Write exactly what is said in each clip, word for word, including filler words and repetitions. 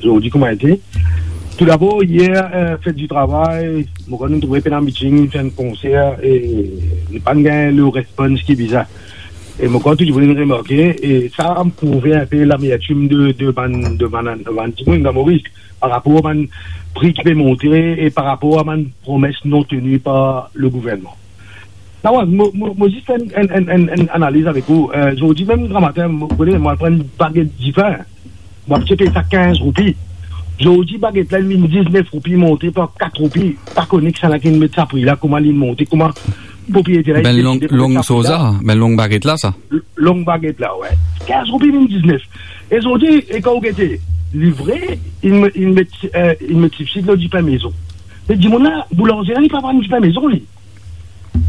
Zordi kouma ete. Toudabor, yer, eh, fet di travay, mo krwar nou trouve pena meeting, fer enn konser, e nou pa'nn gagn le respons ki bizin. E mo krwar tou dimoun inn remarke, e sa prouve inpe lamertim de, de bann, de bann, de bann dimoun dan Moris, par rapor a bann pri ki pe monte e par rapor a bann promes non teni par le gouvernman. Nawaz, mo, mo, mo zis fer enn, enn, enn, enn, enn analiz avek ou. Eh, zordi mem gramatin, mo, mo, mo al pran enn baget dipin. Mo abitie pey sa kinz roupi. Zordi baget la, li vinn diznef roupi, monte par kat roupi. Pa kone kisannla ki met sa pri la, kouma li monte, kouma propriyeter la, Bann long, long soza, bann long baget la, sa. Long baget la, wi. Kinz roupi vinn diznef. E zordi, e kan ou gete, li vre, li met, li met, eh, li met sibsid lor dipin mezon. Me dimoun la, boulanze la, li pa vann dipin mezon, li.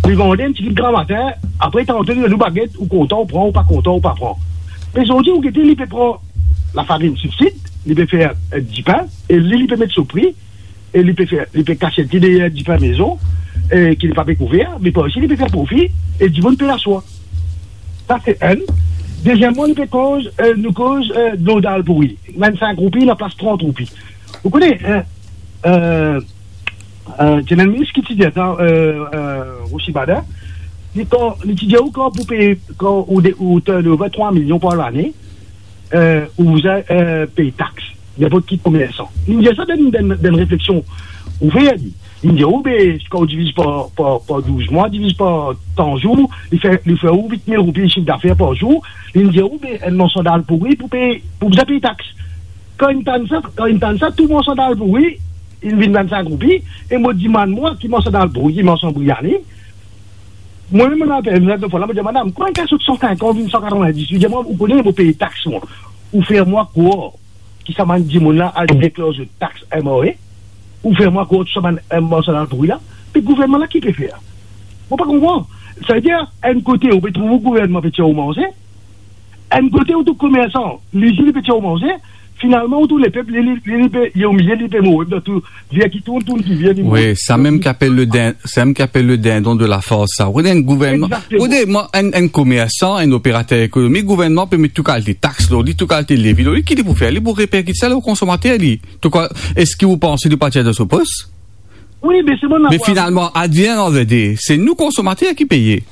Li vann enn tigit gramatin, apre tanto li donn ou baget, ou kontan ou pran, ou pa kontan ou pa pran. Me zordi ou gete, li pe pran lafarinn sibsid, li pe fer, eh, dipin, e li, li pe met so pri, e li pe fer, li pe kasiet li deryer dipin mezon, e ki li pa pe kouver, me par isi li pe fer profi, e dimoun pe laswa. Sa se enn. Deziemman, li pe koz, eh, nou koz, eh, dlo dal pouri. Vennsink roupi, laplas trant roupi. Ou kone, eh, eh, eh, ti ena enn minis ki ti dir sa, eh, eh, Rossy Bader, li kan, li ti dir ou kan pou pey, kan ou de, ou turnover trwa milion par lane, eh, ou bizin, eh, pey tax, ninport ki komersan. Li dir sa dan, dan, dan refleksion ou fer li. Li dir ou, be, kan ou diviz par, par, par douz mwa, diviz par tan zour, li fer, li fer ou vit mil roupi sifdafer par zour. Li dir ou, be, enn morso dal pouri pou pey, pou bizin pey tax. Kan inn tann sa, kan inn tann sa, tou morso dal pouri, inn vinn vennsink roupi, e mo dimann mwa, ki morso dal pouri, ki morso briani? Mwa mem, mo apel, mo dir, mo dir, madam, kouma enn kaso san sinkant vinn san katrovin-dis? Li dir mwa, ou kone, mo pey tax, mwa. Ou fer mwa krwar ki sa bann dimoun la al deklar zot tax M R A? Ou fer mwa krwar tou sa bann, eh, morso dal pouri la? Me gouvernman la ki pe fer? Mo pa konpran. Savedir, enn kote, ou pe trouv ou gouvernman pe tir ou manze, enn kote ou trouv komersan, lizin, li pe tir ou manze, finalman ou trouv lepep, li, li, li, li pe, li omilie, li pe mor, dan tou, vir ki tourn, tourn ki vir, li mor. Wi, sa mem ki apel le din-, sa mem ki apel le dindon de la fars, sa. Ou ena enn gouvernman, Egzakteman. Ou ena enn, enn komersan, enn operater ekonomik, gouvernman pe met tou kalite tax lor li, tou kalite levi lor li, ki li pou fer? Li pou reperkit sa lor konsomater, li. Touka, eski ou panse li pa tir dan so pos? Wi, me se bon. Me finalman, at the end of the day, se nou konsomater ki peye.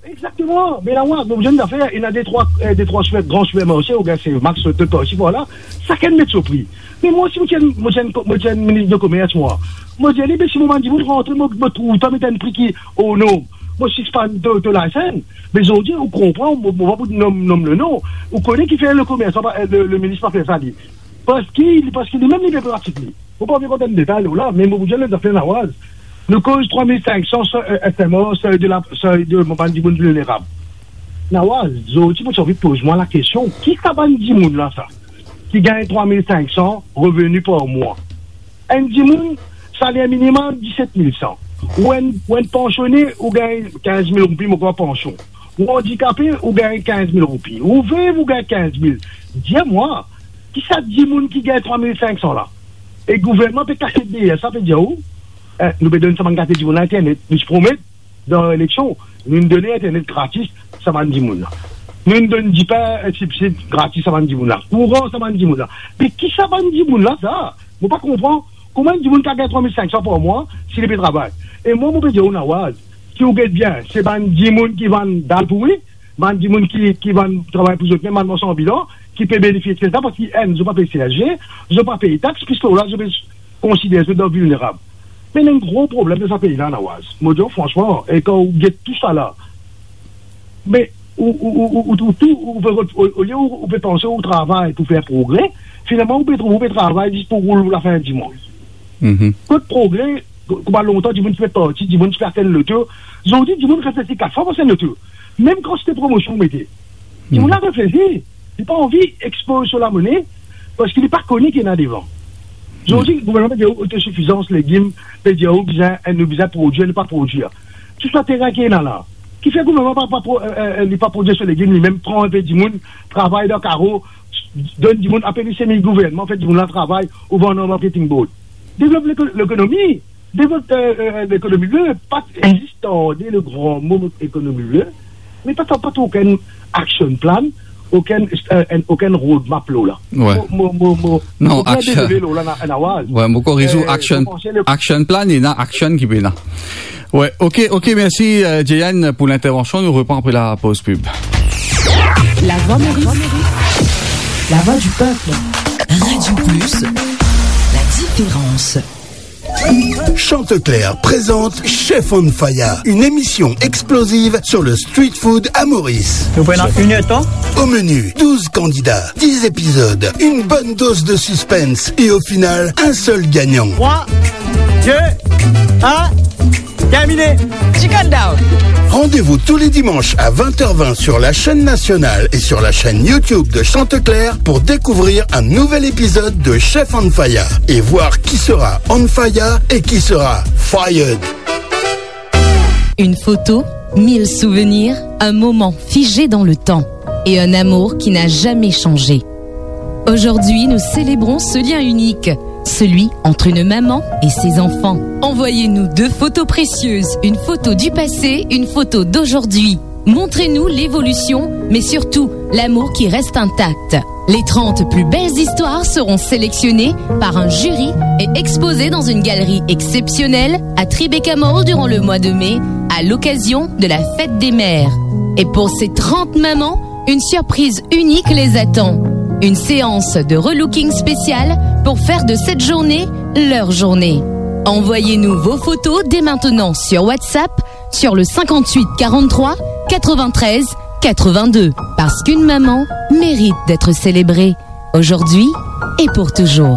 Egzakteman. Me la, mwa, mo dir enn zafer, ena de trwa, eh, de trwa siper, gran sipermarse, oubien se Max, Total, par isi, par la. Sakenn met so pri. Me mwa, si mo ti enn, mo ti enn, mo ti enn minis de komers, mwa, mo dir li, be, si mo bann dimoun rantre, mo, mo trouv twa met enn pri ki, o non, mo sispann to, to license. Me zordi, ou konpran, mo, mo pa pou nom, nom le non. Ou kone kifer le komersan pa, eh, le, le minis pa fer sa, li? Parski li, parski limem li pe pratik li. Mo pa anvi rant dan detay la, me mo pou dir enn zafer, Nawaz. Nou koz trwa mil sink san, eh, S M R, sey de la, sey de bann dimoun vilnerab. Nawaz, zordi mo ti anvi poz mwa lakestion, ki sa bann dimoun la sa, ki gagn trwa mil sink san reveni par mwa? Enn dimoun, saler minimem diset mil san. Ou enn, ou enn pansione, ou gagn kinz mil roupi, mo krwar, pansion. Ou andikape, ou gagn kinz mil roupi. Ou vev, ou gagn kinz mil. Dir mwa, ki sa dimoun ki gagn trwa mil sink san la? E gouvernman pe kasiet deryer sa, pe dir ou, eh, nou pe donn sa bann kalite dimoun la internet. Nou ti promet dan eleksion, nou donn internet gratis sa bann dimoun la. Nou donn dipin, eh, sibsid gratis sa bann dimoun la. Kouran sa bann dimoun la. Me ki sa bann dimoun la sa? Mo pa konpran. Kouma enn dimoun kav gagn trwa mil sink san par mwa si li pe travay? E mwa, mo pe dir ou, Nawaz, si ou get bien, se bann dimoun ki vann dal pouri, bann dimoun ki, ki vann travay pou zot mem, bann marsan anbilan, ki pe benefisie de sa, parski enn, zot pa pey C S G, zot pa pey tax, piski la zot pe konsider zot dan vilnerab. Me ena enn gro problem dan sa pei la, Nawaz. Mo dir ou fransman, e kan ou get tou sa la, me ou, ou, ou, ou, ou trouv tou, ou pe, o, olie ou, ou pe panse ou travay pou fer progre, finalman ou pe trouv ou pe travay zis pou roul lafin dimann. Mhm. Kot progre? Kouma lontan dimoun ti pe parti, dimoun ti pe astenn loto. Zordi dimoun reflesi kat fwa pou astenn loto. Mem kan se te promosion ou mete, dimoun la reflesi, li pa anvi ekspoz so lamone, parski li pa kone ki ena devan. Zordi gouvernman pe dir ou otosifizans legim, pe dir ou bizin, nou bizin prodwir, nou pa prodwir. Tou sa terin ki ena la, kifer gouvernman pa, pa pro-, eh, eh, li pa prodwir so legim, limem pran inpe dimoun, travay dan karo, donn dimoun, apel li semi gouvernman, fer dimoun la travay, ou vann lor marketing board. Devlop leko-, lekonomi, devlop, eh, eh, lekonomi vert, pa zis tande le gran mo ekonomi vert, me pa, pa, pa trouv okenn action plan okenn, euh, enn, okenn roadmap lor la. Ouais. Mo, mo, mo, mo, Non, mo bien action. Désolé, lor la, na, na waz. Ouais, mo koriz ou, euh, action, mo panse le action plan, ena action ki pena. Ouais, ok, ok, merci, euh, Jeyan, pour l'intervention. Nous reprenons après la pause pub. La voix Maurice, la voix du peuple. Radio Plus, la différence. Chanticleer présente Chef on Fire, une émission explosive sur le street food à Maurice. Nous prenons une heure de temps. Au menu, douze candidats, dix épisodes, une bonne dose de suspense et au final, un seul gagnant. Trois, deux, un, terminé. Chicken down. Rendez-vous tous les dimanches à vingt heures vingt sur la chaîne nationale et sur la chaîne YouTube de Chanticleer pour découvrir un nouvel épisode de Chef on Fire et voir qui sera on fire et qui sera fired. Une photo, mille souvenirs, un moment figé dans le temps et un amour qui n'a jamais changé. Aujourd'hui, nous célébrons ce lien unique, celui entre une maman et ses enfants. Envoyez-nous deux photos précieuses, une photo du passé, une photo d'aujourd'hui. Montrez-nous l'évolution, mais surtout l'amour qui reste intact. Les trente plus belles histoires seront sélectionnées par un jury et exposées dans une galerie exceptionnelle à Tribeca Mall durant le mois de mai, à l'occasion de la fête des mères. Et pour ces trente mamans, une surprise unique les attend. Une séance de relooking spéciale pour faire de cette journée leur journée. Envoyez-nous vos photos dès maintenant sur WhatsApp sur le cinquante-huit quarante-trois quatre-vingt-treize quatre-vingt-deux. Parce qu'une maman mérite d'être célébrée aujourd'hui et pour toujours.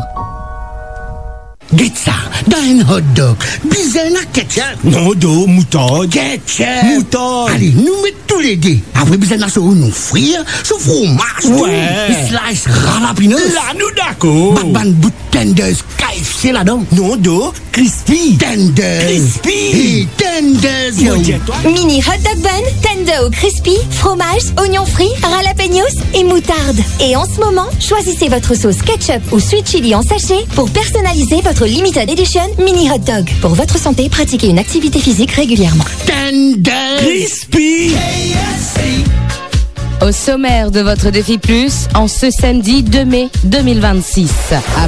Get sa, dan enn hot dog, bizin ena ketchup. Non, do, moutard. Ketchup. Moutard. Ale, nou met toulede. Apre bizin ena so oignon fri, so fromaz, tou. Ouais. Slice jalapenos. La, nou dakor. Bann, bann bout tenders K F C ladan. Non, do, crispy. Tenders. Crispy. E tenders, yo. Mo dir twa. Mini hot dog bun, tender ou crispy, fromage, oignon frit, jalapenos et moutarde. Et en ce moment, choisissez votre sauce ketchup ou sweet chili en sachet pour personnaliser votre limited edition mini hot dog. Pour votre santé, pratiquez une activité physique régulièrement. Tenders. Crispy. Au sommaire de votre Défi Plus, en ce samedi deux mai deux mille vingt-six, à